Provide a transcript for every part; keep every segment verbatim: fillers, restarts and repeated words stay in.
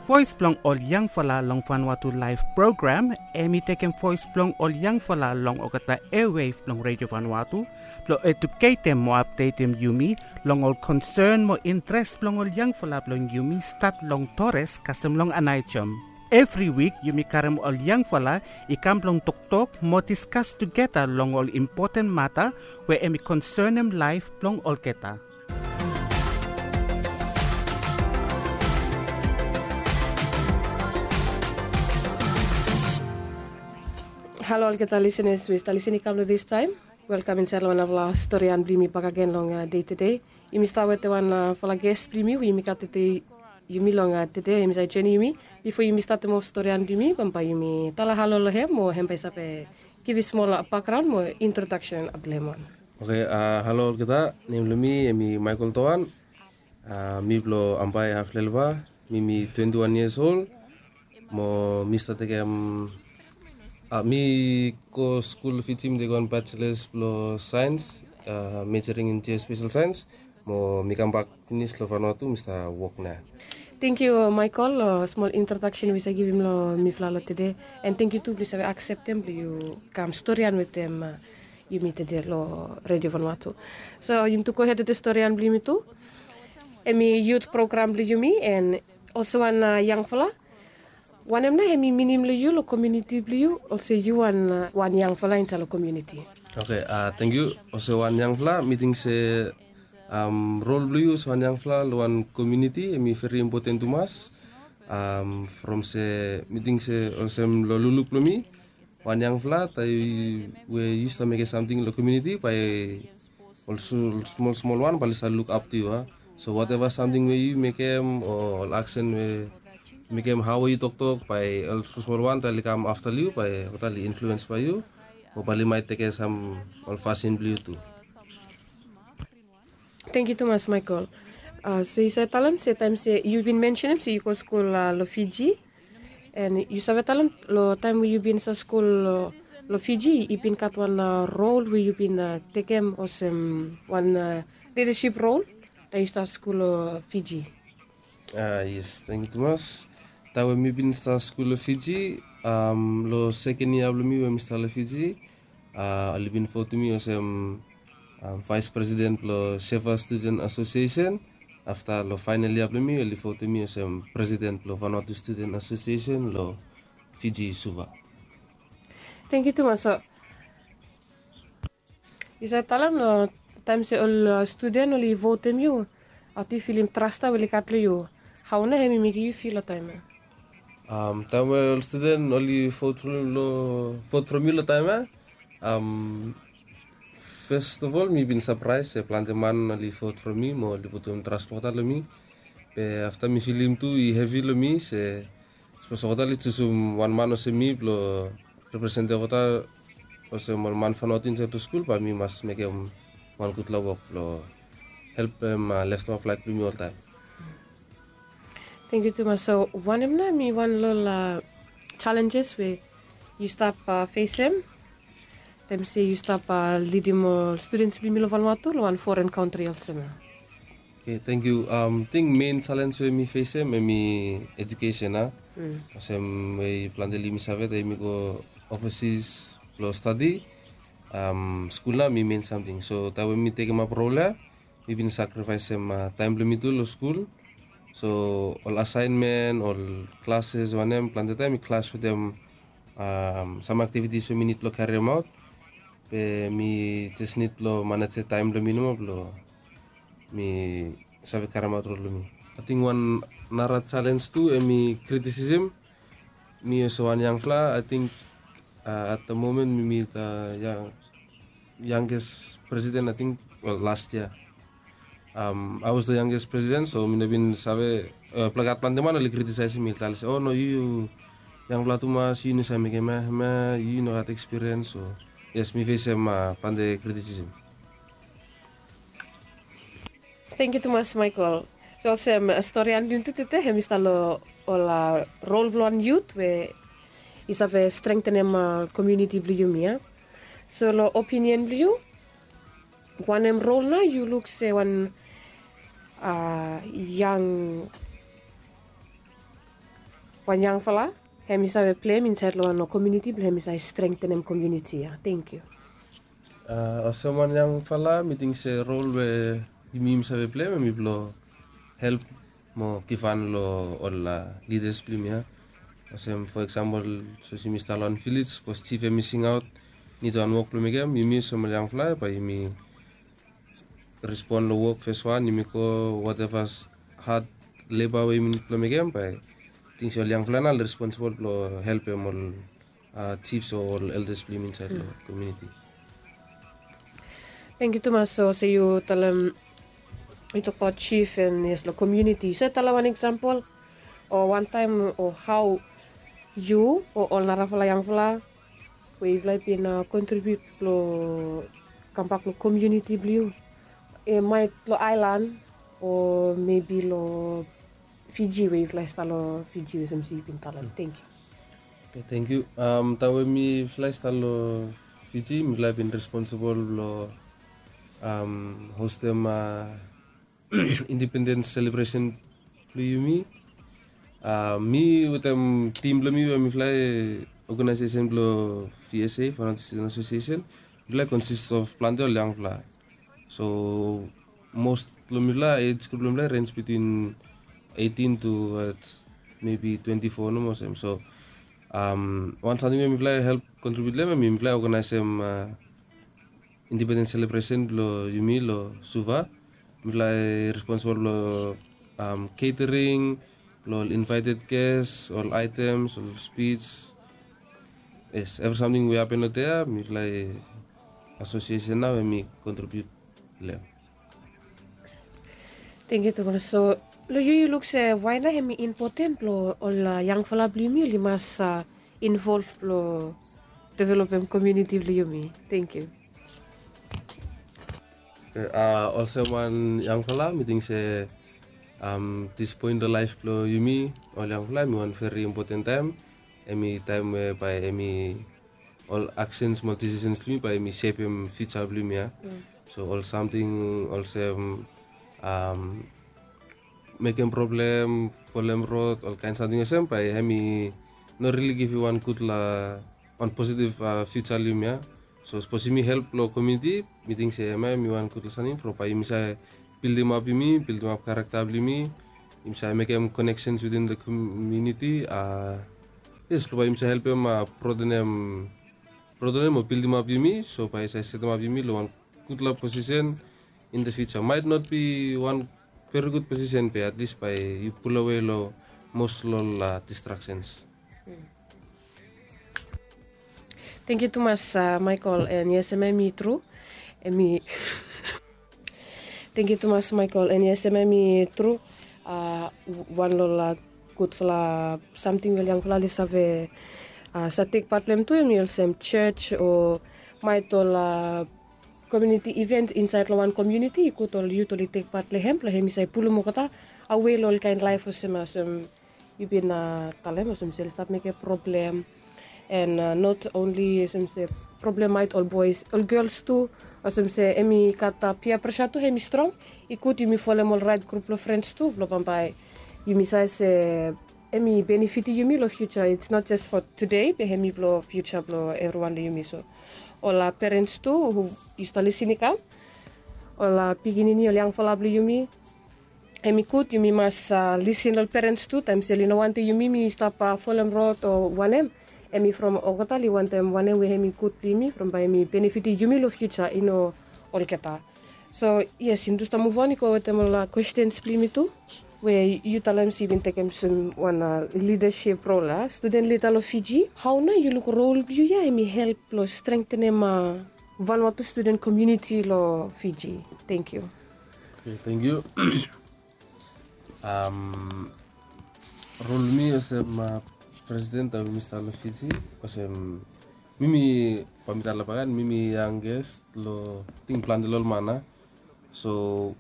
Voes blong ol yangfala long Vanuatu Laef program, hemi tekem voes blong ol yangfala long olgeta airwave blong Redio Vanuatu, blong eduketem mo apdetem yumi long ol konsen mo intres blong ol yangfala blong yumi, stat long Torres kasem long Aneityum. Evri wik yumi karem ol yangfala i kam blong toktok mo diskas tugeta long ol impoten mata we hemi konsenem laef blong olgeta. Halo olgeta lisenas we i stap lisin i kam long distaem. Welkam insaed long wanfala storian blong yumi bakegen long dei tede. Yumi stap wetem wanfala ges blong yumi we yumi gat wetem yumi long tede, hemi save joenem yumi. Bifo yumi statem of storian blong yumi, bambae yumi talem halo long hem mo hem bae i save givim smol bakgraon mo introdaksen blong hem wan. Oke, halo olgeta, nem blong mi hemi Michael Toan. Mi blong Ambae, Haflelva. Mi mi twenti wan yias ol. Mo mi stap tekem, mi go skul Fiji, mi tekem wan bachelors blong saens, majoring in geospatial science. Mo mi kambak finis long Vanuatu, mi stap wok nao. Tangkiu Michael long smol introdaksen we yu save givim long mifala long tede. An tangkiu tu blong yu save akseptem blong yu kam storian wetem yumi tede long Redio Vanuatu. So yumi tu gohed wetem storian blong yumi tu. Hemi yut program blong yumi an olsem wan yangfala, wanem nao hemi minim long yu long komuniti blong yu, olsem yu wan yangfala insaed long komuniti? Oke, tangkiu. Olsem wan yangfala, mi ting se rol blong yu olsem wan yangfala long wan komuniti hemi veri impoten tumas. From se mi ting se olsem long lukluk blong mi, wan yangfala taem we yu stap mekem samting long komuniti, bae ol smol smol wan bae oli stap lukap tu yu a. So wateva samting we yu mekem o ol aksen we yu mekem, hao we yu toktok, bae ol smol smol wan taem oli kam afta long yu bae oli influens bae yu, o bae oli maet tekem sam ol fasin blong yu tu. Tangkiu tumas Michael. So yu save talem se taem se yu bin mensenem se yu go skul long Fiji. An yu save talem long taem we yu bin stap skul long Fiji, i bin gat wan rol we yu bin tekem olsem wan lidasip rol taem yu stap skul long Fiji? Yes, tangkiu tumas. Taem we mi bin stap skul long Fiji, long seken yia blong mi we mi stap long Fiji, oli bin votem mi olsem vaes presiden blong Sefa Studen Asosiesen. Afta long faenel yia blong mi oli votem mi olsem presiden blong Vanuatu Studen Asosiesen long Fiji Suva. Tangkiu tumas. So yu save talem long taem se ol studen oli votem yu, hao tu yu filim tras we oli gat long yu? Hao nao hemi mekem yu fil long taem ya? Taem we ol studen oli vot from mi long taem ya, fes of ol mi bin sapraes se plante man oli vot from mi mo oli putum tras blong olgeta long mi. Be afta mi filim tu i hevi long mi se sapos olgeta oli jusum wan man olsem mi blong representem olgeta olsem ol man Vanuatu insaed long skul, bae mi mas mekem wan gudfala wok blong helpem leftoa flaeg blong mi oltaem. Tangkiu tumas. So wanem nao hemi wan long ol jalenjes we yu stap fesem taem se yu stap lidim ol studens blong yumi long Vanuatu long wan foren kantri olsem ya? Oke, tangkiu. Ting mein jalenj we mi fesem hemi ejukesen a. Olsem we plante blong yumi save taem yumi go ovasis blong stadi, skul nao hemi mein samting. So taem we mi tekemap rol ya, mi bin sakrifaesem taem blong mi tu long skul. So ol asaenmen, ol klases, wanem, plante taem mi klas wetem sam aktivitis we mi nid blong kariemaot. Be mi jes nid blong manejem taem blong mi nomo blong mi save karimaot rol blong mi. Ating wan nara jalenj tu hemi kritisisem. Mi olsem wan yangfala, ating at da momen mi, mi da yang, yangges presiden, ating, wel, las yia. Ae was da yangges presiden, so mi no bin save, plante man oli kritisaesem mi, oli talem se, o no, yu yangfala tumas, yu no save mekem hemia, yu no gat ekspiriens. So yes, mi fesem plante kritisisem. Tangkiu tumas Michael. So olsem storian blong yumi tu tede hemi stap long ol rol blong wan yut we i save strengtenem komuniti blong yumi ya. So long opinion blong yu, wanem rol nao yu luk se wan yang wan yangfala hem i save pleim insaed long wan komuniti blong hem i save strengtenem komuniti ya. Tenkyu. Olsem wan yangfala mi ting se rol we yumi yumi save pleim hem i blong help mo givhan long ol lidas blong yumi ya. Olsem fo eksampol, sapos yumi stap long wan vilej, sapos jif hem i singaot nid wan wok blong mekem, yumi olsem ol yangfala bae yumi respon long wok feswan, yumi go, wateva had leba we yumi nid blong mekem, bae ting se ol yangfala nao ol responsibol blong helpem ol jifs o ol eldas blong yumi insaed long komuniti. Tenkyu tumas. So olsem yu talem, yu tokbaot jif and yes long komuniti, yu save talem wan eksampol o wantaem o hao yu o ol narafala yangfala we yufala i bin kontribiut blong kambak long komuniti blong yu, maet long aelan o mebi long Fiji we yufala i stap long Fiji olsem se yu bin talem. Tenkyu. Tenkyu. Taem we mifala i stap long Fiji, mifala i bin responsibol blong hostem indipendens selebresen blong yumi. Mi wetem tim blong mi we mifala i oganaesesen blong V S A, Vanuatu Student Association, mifala i konsist of plante ol yangfala. So mos blong mifala, ej grup blong mifala i renj bitwin eitin to mebi twenti fo nomo olsem. So wan samting we mifala i help kontribiut long hem, mifala i oganaesem indipendens selebresen blong yumi long Suva. Mifala i responsibol blong ketering, blong ol invaeted ges, ol aetems, ol spij, yes, evri samting we i hapen long dei ya, mifala i asosiesen nao we mi kontribiut long hem. Tenkyu tumas. So long yu, yu luk se wae nao hem i impoten blong ol yangfala blong yumi oli mas involv blong developem komuniti blong yumi? Tenkyu. Olsem wan yangfala, mi ting se dis poen long laef blong yumi ol yangfala hem i wan veri impoten taem. Hem i taem we bae hem i ol aksens mo ol disisens blong yumi bae hem i sepem fiuja blong yumi ya. So ol samting olsem mekem problem, folem rod, ol kaen samting olsem, bae hem i no rili givim wan gudfala, wan positiv fiuja long yumi ya. So sapos yumi help long komuniti, mi ting se hem ya hem i wan gudfala samting from bae yumi save bildimap yumi, bildimap karakta blong yumi, yumi save mekem koneksens within the komuniti. Yes, blong bae yumi save helpem broadenem, broadenem o bildimap yumi, so bae i save setemap yumi long wan gudfala posisen in the future. Might not be wan veri gud posisen, be at least bae yu pulowe long mos long ol distraksens. Tenkyu tumas Michael, and yes, hem ya hem i tru. Hem i Tenkyu tumas Michael, and yes, hem ya hem i tru. Wan long ol gudfala samting we ol yangfala oli save save tek pat long hem tu, hem i olsem jos o maet ol komuniti iven insaed long wan komuniti, i gud ol yut oli tek pat long hem blong hem i save pulum olgeta awe long ol kaen laef olsem, olsem yu bin talem, olsem se oli stap mekem problem. And not only olsem se problem maet ol boes, ol gels tu, olsem se hem i gat pia presa tu hem i strong. I gud yumi folem ol raet grup blong frens tu blong bambae yumi save se hem i benefitim yumi long fiuja. It's not just for today, be hem i blong fiuja blong evriwan long yumi. So ol perens tu hu i stap lisin i kam, ol pikinini, ol yangfala blong yumi, hem i gud yumi mas lisin long ol perens tu taem se oli no wantem yumi mi stap folem rod o wanem. Hem i from olgeta oli wantem wanem we hem i gud blong yumi from bae hem i benefitim yumi long fiuja, i no olgeta. So yes, yumi tu stap muv on i go wetem ol kwestens blong yumi tu, we yu talem se yu bin tekem olsem wan lidasip rol, a studen lida long Fiji. Hao nao yu luk rol blong yu ya hem i help blong strengtenem Vanuatu studen komuniti long Fiji? Tenkyu. Tenkyu. Rol blong mi olsem presiden taem we mi stap long Fiji, olsem mi, mi bae mi talem bakegen, mi mi yangest long, ting, plante long ol man ya. So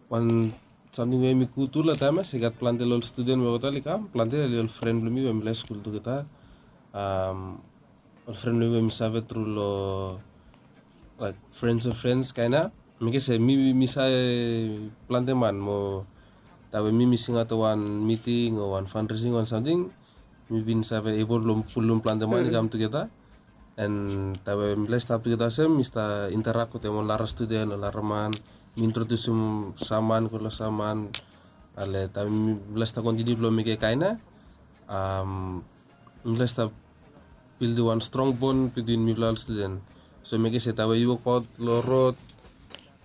wan samting we hem i gud tu long taem ya se i gat plante long ol studen we olgeta oli kam, plante long ol fren blong mi we mifala i skul tugeta. Ol fren blong mi we mi save tru long, laek, frens of frens kaen ya. Mekem se mi, mi save plante man mo taem we mi mi singaot long wan miting o wan fanresing o wan samting, mi bin save ebol blong pulum plante man i kam tugeta. An taem we mipela i stap tugeta olsem, mi stap interak wetem ol nara studen, ol nara man. Mi introdusim sam man go long sam man. Ale taem mipela i stap kontiniu blong mekem kaen ia, mipela i stap bildim wan strong bon bitwin mipela ol studen. So mekem se taem we yu wokaot long rod,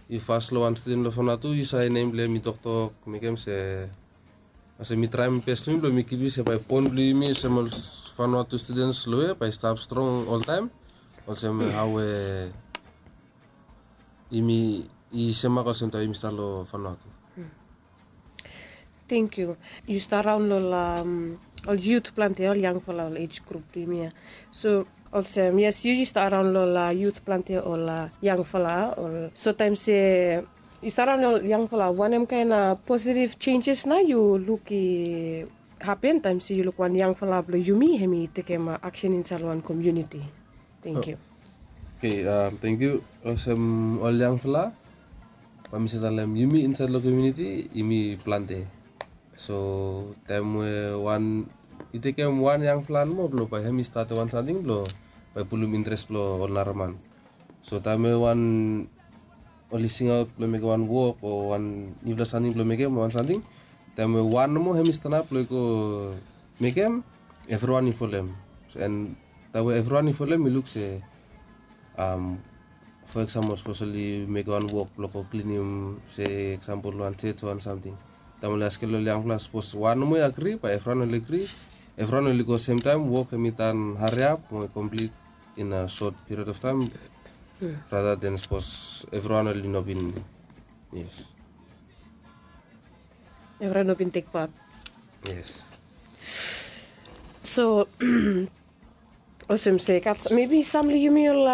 yu pas long wan studen blong Vanuatu, yu save nem blong em, yu toktok, mekem se, olsem mi traem bes blong mi blong mi kipim se bae bon blong yumi olsem ol Vanuatu studen long we bae i stap strong oltaem. Olsem hao we yumi i semak olsem taem yumi stap long Vanuatu. Thank you. Yu stap raon long ol yut plante, ol yangfala, ol age group blong yumi ia. So olsem, yes, yu yu stap raon long ol yut plante, ol yangfala, ol. So taem se yu stap raon long ol yangfala, wanem kaen positive changes nao yu luk i hapen taem se yu luk wan yangfala blong yumi hemi tekem aksen insaed long wan komuniti? Thank you. Okay, thank you. Olsem ol yangfala, bae mi save talem yumi insaed long komuniti yumi plante. So taem we wan, i tekem wan yangfala nomo blong bae hemi statem wan samting blong bae pulum interes blong ol nara man. So taem we wan oli singaot blong mekem wan wok o wan nifala samting blong mekem wan samting, taem we wan nomo hemi stanap blong i go mekem, evriwan i folem. An taem we evriwan i folem, mi luk se, fo eksampol, sapos oli mekem wan wok blong go klinim, se eksampol wan jej o wan samting. Taem oli askem long ol yangfala, sapos wan nomo i agri, bae evriwan oli agri, evriwan oli go semtaem, wok hemi tan hariap mo i komplit in a sot piriod of taem, rata den sapos evriwan oli no bin. Yes. Evriwan no bin tek pat. Yes. So olsem se gat mebi sam long yumi ol,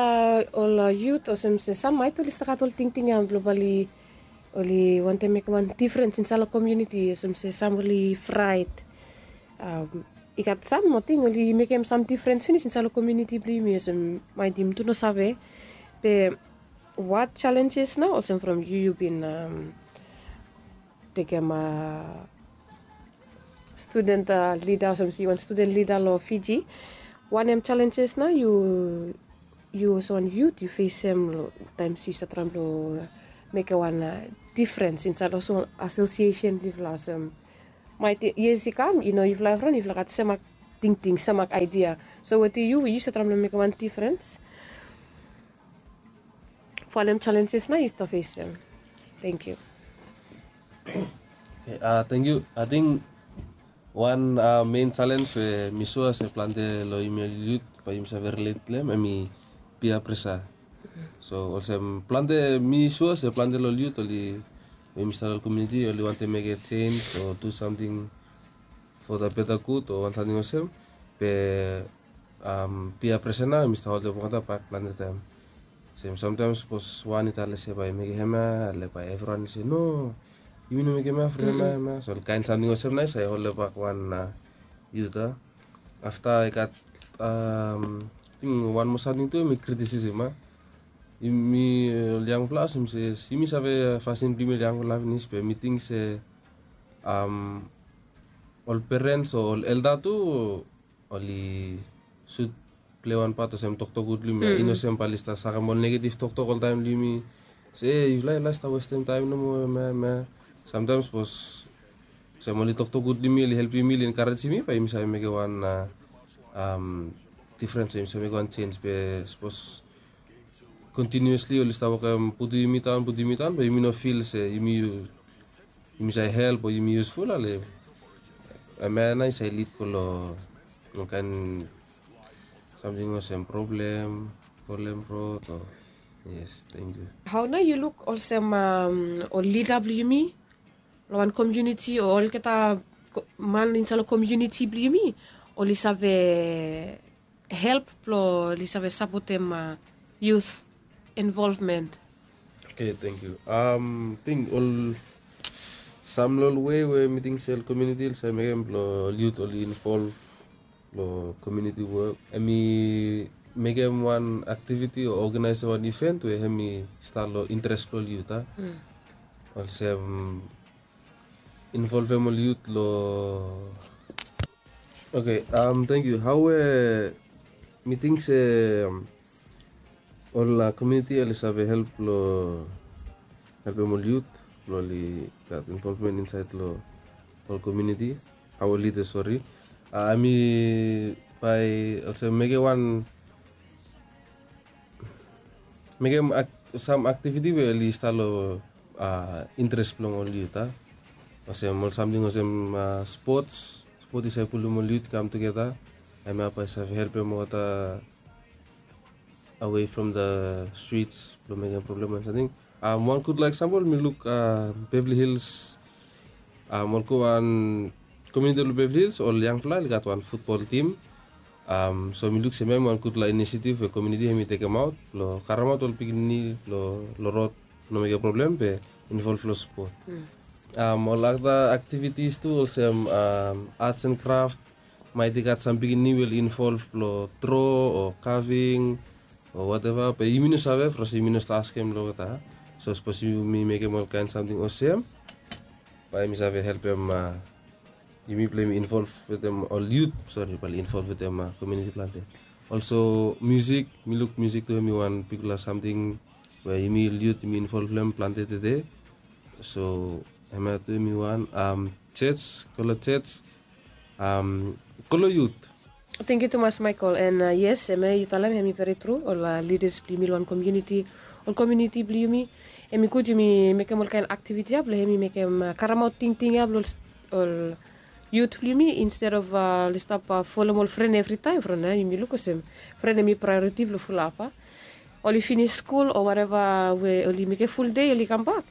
ol yut, olsem se sam maet oli stap gat ol tingting ia blong bae oli wantem mekem wan difrens insaed long komuniti, olsem se sam oli fraet. I gat sam ating oli mekem sam difrens finis insaed long komuniti blong yumi, olsem maet yumi tu no save. Be what challenges nao, olsem from yu yu bin tekem studen lida, olsem se yu wan studen lida long Fiji, wanem challenges nao yu, yu olsem wan yut yu fesem taem se yu stap traem blong mekem wan difrens insaed long asosiesen blong yufala? Olsem maet years i kam, i no yufala evriwan yufala gat semak tingting, semak aedia. So wetem yu, yu stap traem blong mekem wan difrens, wanem challenges nao yu stap fesem? Thank you. Okay, thank you. Ating wan mein chalens we mi sua se plante long yumi ol yut bae yumi save rilet long hem, hemi peer pressure. So olsem plante, mi sua se plante long ol yut oli, we yumi stap long komuniti, oli wantem mekem jenis o du samting for the better good o wan samting olsem. Be peer pressure nao hemi stap holem olgeta bak plante taem. Olsem samtaem sapos wan i talem se bae mekem hemia, ale bae evriwan i se no, yumi no mekem hemia from hemia, hemia. So ol kaen samting olsem nao i save holem bak wan yut. Afta i gat, ating wan moa samting tu, hemi kritisisem. Yumi ol yangfala, olsem se yumi save fasin blong yumi ol yangfala finis, be mi ting se ol perens o ol elda tu oli sud plei wan pat olsem toktok gud long yumi ia. I no olsem bae oli stap sakem ol negetiv toktok oltaem long yumi, se e, yufala i laik stap westem taem nomo, hemia, hemia. Samtaem sapos olsem oli toktok gud long yumi, oli helpem yumi, oli enkarejem yumi, bae yumi save mekem wan difrens, yumi save mekem wan jenis. Be sapos kontiniuesli oli stap wokem putum yumi daon, putum yumi daon, be yumi no fil se yumi, yumi save help o yumi yusful, ale hemia nao i save lid go long ol kaen samting olsem problem, problem rod o. Yes, thank you. Hao nao yu luk olsem ol lida blong yumi long wan komuniti o olgeta man insaed long komuniti blong yumi, oli save help blong oli save sapotem yut involvmen? Okay, thank you. Ating ol sam long ol wei we mi ting se ol komuniti oli save mekem blong ol yut oli involv long komuniti wok, hemi mekem wan aktiviti o oganaesem wan iven we hemi stap long interes blong ol yut. Olsem involvem ol yut long Oke, am tangkiu. Hau we mi ting se ol komuniti oli save help long helpem ol yut blong oli gat involvmen insaed long ol komuniti? Hau ol lidas, sori, a mi bae olsem mekem wan mekem sam aktiviti we oli stap long interes blong ol yut a, olsem ol samting olsem spots. Spot i save pulum ol yut i kam tugeta. Hemia bae i save helpem olgeta away from the streets blong mekem problem o samting. Wan gutpela eksampol mi luk Beverly Hills. Ol go wan komuniti long Beverly Hills, ol yangpela oli gat wan futbol tim. So mi luk se hemia hem i wan gutpela inisiativ we komuniti hem i tekemaot blong karemaot ol pikinini long rod, no mekem problem be involv long spot. Ol ada aktivitis tu olsem arts and craft. Maet i gat sam pikinini we oli involv long dro o kaving o wateva, be yumi no save bikos yumi no stap askem long olgeta. So sapos yumi mekem olkaen samting olsem, bae yumi save helpem yumi blong yumi involv wetem ol yut, sori, bae oli involv wetem komuniti plante. Olso musik, mi luk musik tu hem i wan bigfala samting we yumi ol yut yumi involv long hem plante tede. So hemia tu hem i wan. Church, go long church, go long yut. Tangkiu tumas Michael. And yes, hemia yu talem hem i veri tru. Ol lidas blong yumi long wan komuniti, ol komuniti blong yumi, hem i gud yumi mekem olkaen aktiviti ya blong hem i mekem karemaot tingting ya blong ol yut blong yumi, instead of oli stap folem ol fren evritaem. From ya yumi luk olsem fren hem i praeoriti blong fulap a. Oli finis skul o wateva we oli mekem fuldei, oli kambak,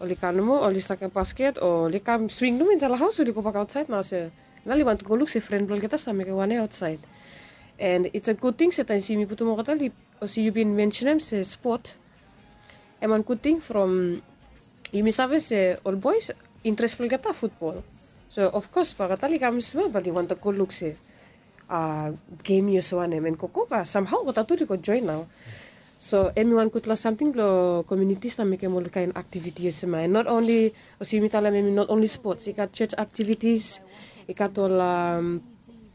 oli kam nomo, oli sakem basket o oli kam swing nomo insaed long haos, oli gobak aotsaed nao se nao oli wantem go luk se fren blong olgeta stap mekem wanem aotsaed. And it's a good thing se taem se yumi putum olgeta, olsem yu bin mensenem se spot, hem wan gud ting from yumi save se ol boes interes blong olgeta futbol. So of kos bae olgeta oli kam smol bae oli wantem go luk se gem i olsem wanem, and gogo bae samhao olgeta tu oli go joen nao. So hem i wan gutpela samting blong komuniti stap mekem olkaen aktiviti olsem ya. And not only, olsem yumi talem, hem i not only spots, i gat church aktivitis, i gat ol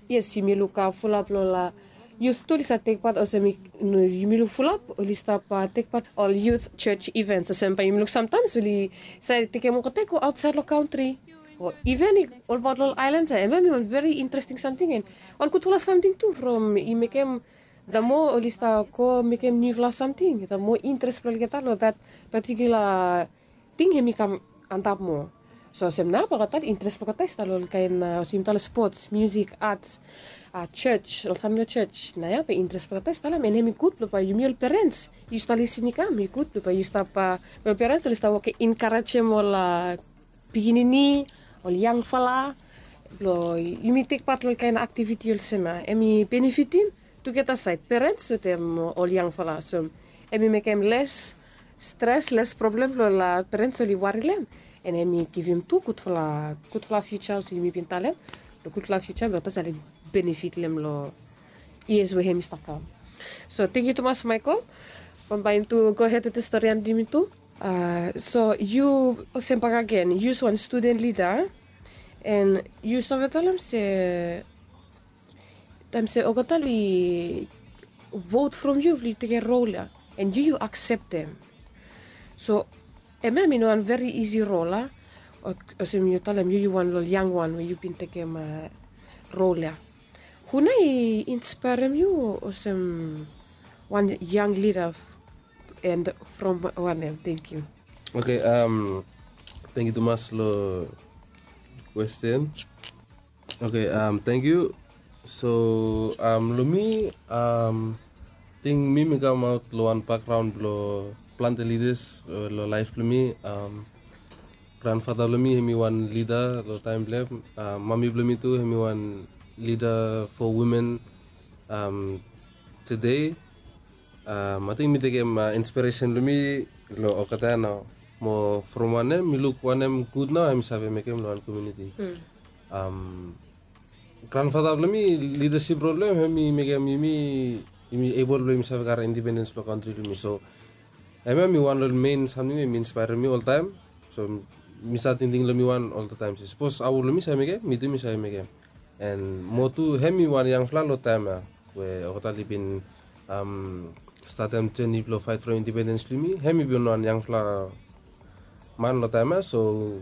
yes, yumi luk fulap long ol yut tu oli save tekpat, olsem yumi luk fulap oli stap tekpat ol yut church events. Olsem bae yumi luk samtaems oli save tekem olgeta i go aotsaed long kantri o iven i olbaot long ol aelan ya. Hemia hem i wan veri interesting samting and wan gudfala samting tu from i mekem, the more oli stap go mekem niufala samting, the more interes blong olgeta long that particular ting hem i kam antap moa. So olsem nao bae olgeta interes blong olgeta i stap long olkaen, olsem yumi talem, spots, musik, arts, church, ol samting long church. Nao ya bae interes blong olgeta i stap long hem, and hem i gud blong bae yumi ol perens, yu stap lisin i kam, i gud blong bae yu stap, ol perens oli stap wokem enkarejem ol pikinini, ol yangfala, blong yumi tekpat long olkaen aktiviti olsem ya. Hem i benefitim tugeta saed, perens wetem ol yangfala. So hem i mekem les stres, les problem blong ol perens oli wari long hem. And hem i givim tu gudfala, gudfala fiuja, olsem yumi bin talem, long gudfala fiuja blong olgeta oli benefit long hem long yias we hem i stap kam. So tangkiu tumas Michael. Bambae yumi tu gohed wetem storian blong yumi tu. So yu olsem bakegen, yu olsem wan studen lida, and yu save talem se taem se olgeta oli vot from yu blong yu tekem rol ya, and yu yu akseptem. So hemia hem i no wan veri isi rol a. Olsem yu talem yu yu wan long ol yangwan we yu bin tekem rol ya. Hu nao i inspaerem yu olsem wan yang lida, and from wanem? Tangkiu. Oke, tangkiu tumas long kwesten. Oke, tangkiu. So long mi, ting mi mi kamaot long wan bakgraon blong plante lidas long laef blong mi. Granfata blong mi hem i wan lida long taem blong hem. Mami blong mi tu hem i wan lida fo wimen tede. Ating mi tekem inspiresen blong mi long olgeta ya nao, mo from wanem mi luk wanem gud nao hem i save mekem long wan komuniti. Granfata blong mi, lidasip rol blong hem hem i mekem yumi, yumi ebol blong yumi save karem indipendens blong kantri blong yumi. So hemia hem i wan long ol men samting we i inspaerem mi oltaem. So mi save tingting long mi wan oltaem se sapos hao blong mi save mekem, mi tu mi save mekem. And mo tu hem i wan yangfala long taem ya we olgeta oli bin statem jeni blong faet from independens blong yumi. Hem i bin wan yangfala man long taem ya, so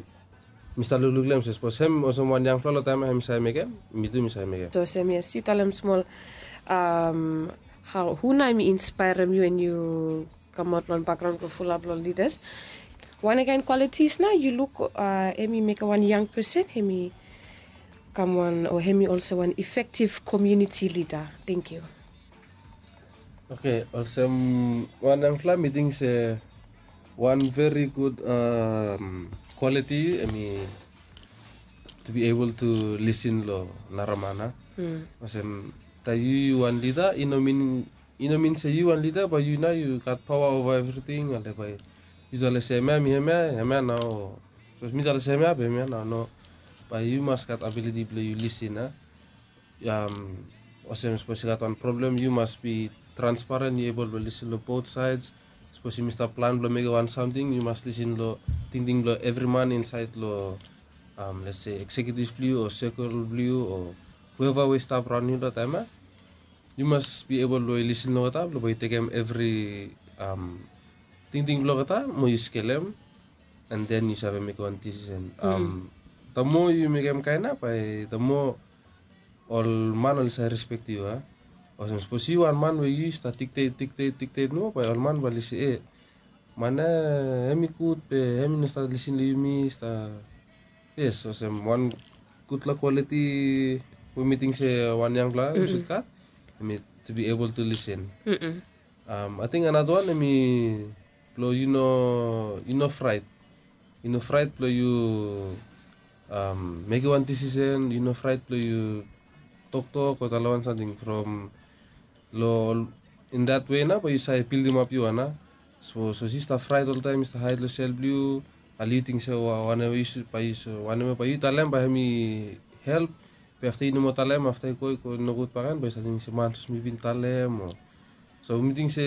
mi stap lukluk long hem se sapos hem olsem wan yangfala long taem ya hem i save mekem, mi tu mi save mekem. So olsem, yes, yu talem smol, hau, hu nao hem i inspaerem yu and yu kamaot long bakgraon blong fulap long lidas? Wanem kaen kwalitis nao yu luk hem i mekem wan yang pesen hem i kam wan, o hem i olsem wan efektiv komuniti lida? Tenkyu. Oke, olsem wan yangfala mi ting se wan veri gud kwaliti hem i to be able to lisin long nara man. Olsem taem yu yu wan lida, i no min i no min se yu wan lida bae yu nao yu gat paoa ova evriting, ale bae yu talem se hemia mi hemia, hemia nao. Sapos mi talem se hemia be hemia nao, no. Bae yu mas gat abiliti blong yu lisin a. Olsem sapos i gat wan problem yu mas bi transparen, yu ebol blong lisin long bot saed. Sapos yumi stap plan blong mekem wan samting yu mas lisin long tingting blong evri man insaed long, let's say, eksekiutiv blong yu o sekol blong yu o hueva we i stap raon yu long taem ya. Yu mas bi ebol blong yu lisin long olgeta blong bae yu tekem evri tingting blong olgeta mo yu skelem, and then yu save mekem wan disisen. The more yu mekem kaen ya bae the more ol man oli save respek yu a. Olsem sapos yu wan man we yu stap diktet diktet diktet nomo bae ol man bae oli se, e, man ya hem i gud be hem i no stap lisin long yumi, stap. Yes, olsem wan gudfala kwaliti we mi ting se wan yangfala yu sud gat, hem i to be able to lisin. Ating another wan hem i blong yu no, yu no fraet. Yu no fraet blong yu mekem wan disisen, yu no fraet blong yu toktok o talem wan samting from long, in that way nao bae yu save bildimap yu wan a. So sapos yu stap fraet oltaem, yu stap haed long sel blong yu, ale yu ting se wanem we yu talem bae hem i help, be afta yu no moa talem, afta i go i go nogud bakegen bae yu save ting se man, sapos mi bin talem o. So mi ting se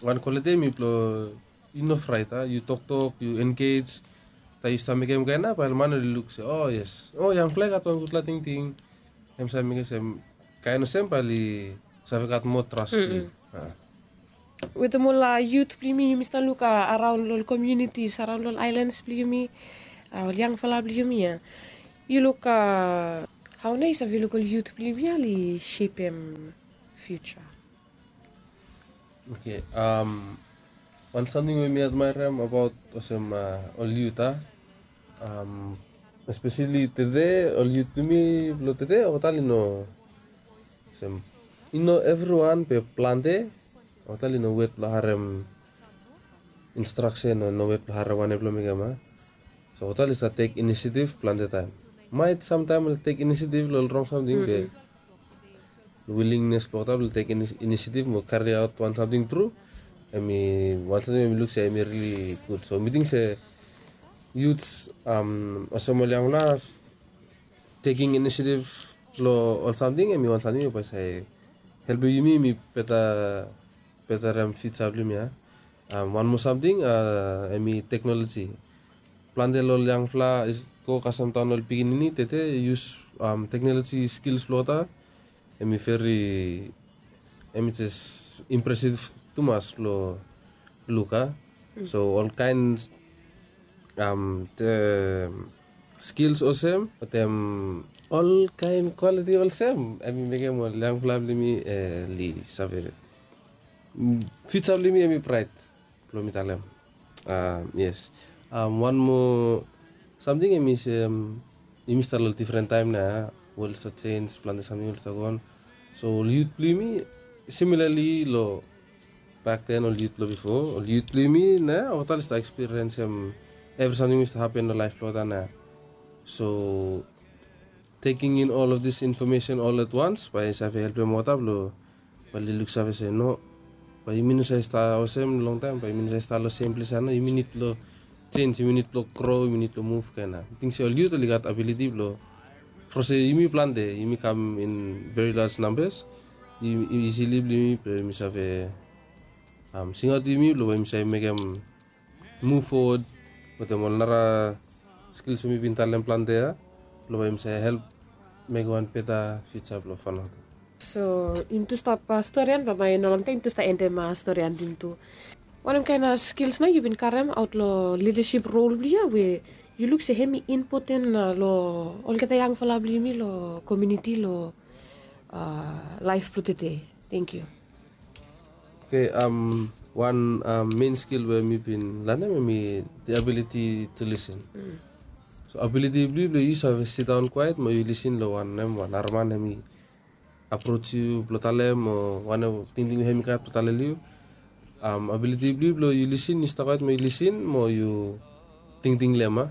wan kwaliti hem i blong yu no fraet a, yu toktok, yu engej. Taem yu stap mekem kaen ya bae ol man oli luk se, o yes, o yangfala i gat wan gudfala tingting. Hem save mekem se kaen olsem bae oli save gat moa tras long yu. Wetem ol yut blong yumi, yumi stap luk araon long ol komunitis, araon long ol aelans blong yumi, ol yangfala blong yumi ya, yu luk hao nao yu save luk ol yut blong yumi ya oli sepem fiuja? Oke, wan samting we mi admaerem abaot olsem ol yut a, espeseli tede, ol yut blong yumi blong tede olgeta oli no, olsem, i no evriwan be plante olgeta oli no wet blong harem instraksen o no wet blong harem wanem blong mekem a. So olgeta oli stap tek inisiativ plante taem. Maet samtaem oli tek inisiativ long ol rong samting be wilingnes blong olgeta blong tek inisiativ mo kariaot wan samting tru, hem i wan samting we mi luk se hem i rili gud. So mi ting se yut, olsem ol yangfala, teking inisiativ long ol samting hem i wan samting we bae save helpem yumi, yumi beta, betarem fiuja blong yumi ya. Wan moa samting hem i teknoloji. Plante long ol yangfala i go kasem daon ol pikinini tede i yus teknoloji skils blong olgeta. Hem i veri, hem i jes impresiv tumas blong luk a. So olkaen skils olsem, wetem olkaen kwaliti olsem, hem i mekem ol yangfala blong yumi oli save, fiuja blong yumi hem i braet, blong mi talem. Yes. Wan moa samting hem i se, yumi stap long difren taem nao ya, wol i stap jenj, plante samting oli stap goon. So ol yut blong yumi, similali long bakden, ol yut blong bifo, ol yut blong yumi nao ya olgeta oli stap ekspiriensem evri samting we i stap hapen long laef blong olgeta nao ya. So taking in all of this information all at once bae i save helpem olgeta blong bae oli luksave se no, bae yumi no save stap olsem longtaem, bae yumi no save stap long sem ples ya nao. Yumi nid blong jenj, yumi nid blong gro, yumi nid blong muv kaen ya. Mi ting se ol yut oli gat abiliti blong, from se yumi plante, yumi kam in very large numbers, i isili blong yumi blong yumi save singaot yumi blong bae yumi save mekem muv fowod wetem ol nara skils we mi bin talem plante ya, blong bae yumi save help mekem wan beta fiuja blong Vanuatu. So yumi tu stap storian, bambae no longtaem yumi tu stap endem storian blong yumi tu. Wanem kaen skils nao yu bin karemaot long lidasip rol blong yu ya we yu luk se hem i impoten long olgeta yangfala blong yumi long komuniti long laef blong tede? Tenkyu. Oke, wan men skil we mi bin lanem hem i the ability to listen. So abiliti blong yu blong yu save sidaon kwaet mo yu lisin long wanem wan araman hem i aproj yu blong talem o wanem tingting we hem i gat blong talem long yu. Abiliti blong yu blong yu lisin, yu stap kwaet mo yu lisin mo yu tingting long hem a.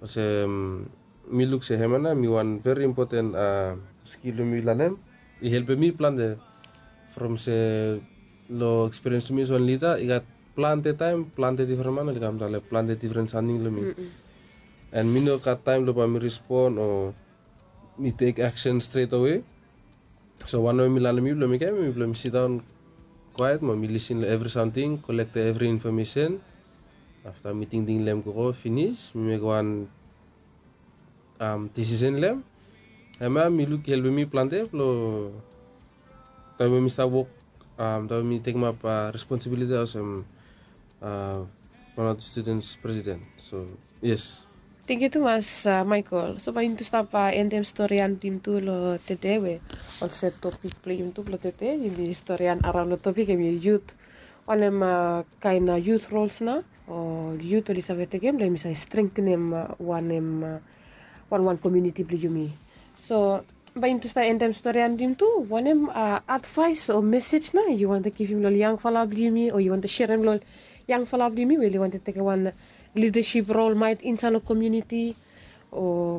Olsem mi luk se hem ya nao hem i wan veri impoten skil blong mi lanem. I helpem mi plante from se long ekspiriens blong mi olsem wan lida i gat plante taem plante difren man oli kam talem plante difren samting long mi. An mi no gat taem blong bae mi respon o mi tek aksen stret awe. So wanem we mi lanem yu blong mekem hem i blong mi sidaon kwaet mo mi lisin long evri samting, kolektem evri infomesen. Afta mi tingting long hem gogo finis mi mekem wan disisen long hem. Hem ya mi luk i helpem mi plante blong taem we mi stap wok, taem we mi tekemap responsibiliti olsem Vanuatu Students Presiden. So yes. Tenkyu tumas Michael. So bae yumi tu stap endem storian blong yumi tu long tede we olsem topik blong yumi tu blong tede yumi storian araon long topik hem i yut. Wanem kaen yut rols nao o yut oli save tekem blong yumi save strengtenem wanem wanwan komuniti blong yumi. So bae yumi tu stap endem storian blong yumi tu, wanem advaes o mesej nao yu wantem givim long ol yangfala blong yumi o yu wantem serem long ol yangfala blong yumi we oli wantem tekem wan lidasip rol maet insaed long komuniti o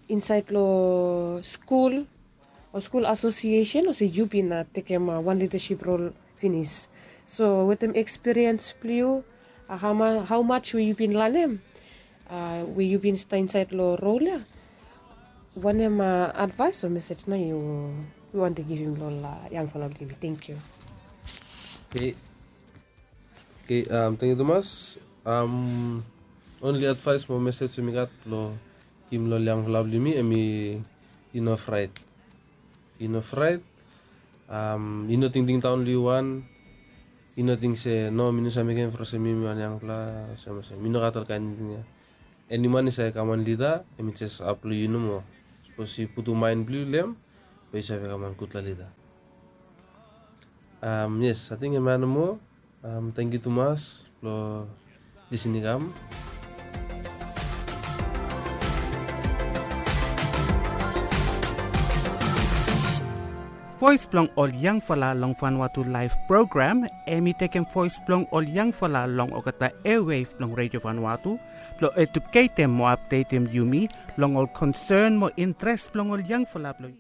insaed long skul o skul asosiesen olsem yu bin tekem wan lidasip rol finis. So wetem ekspiriens blong yu, haomaj we yu bin lanem we yu bin stap insaed long rol ya, wanem advaes o mesej nao yu wantem givim long ol yangfala blong yumi? Tenkyu. Oke, tenkyu tumas. Onli advaes mo mesej we mi gat long givim long ol yangfala blong yumi hem i no fraet. I no fraet. I no tingting daon long yu wan. I no ting se no mi no save mekem from se mi mi wan yangfala olsem mi no gat ol kaen tingting ya. Eni man i save kam wan lida hem i jes ap long yu nomo. Sapos yu putum maen blong yu long hem, bae yu save kam wan gudfala lida. Yes, ating hem ya nomo. Tenkyu tumas blong lisin i kam. Voes blong ol yangfala long Vanuatu laef program hem i tekem voes blong ol yangfala long olgeta eawev blong Redio Vanuatu blong ejuketem mo apdetem yumi long ol konsen mo intres blong ol yangfala blong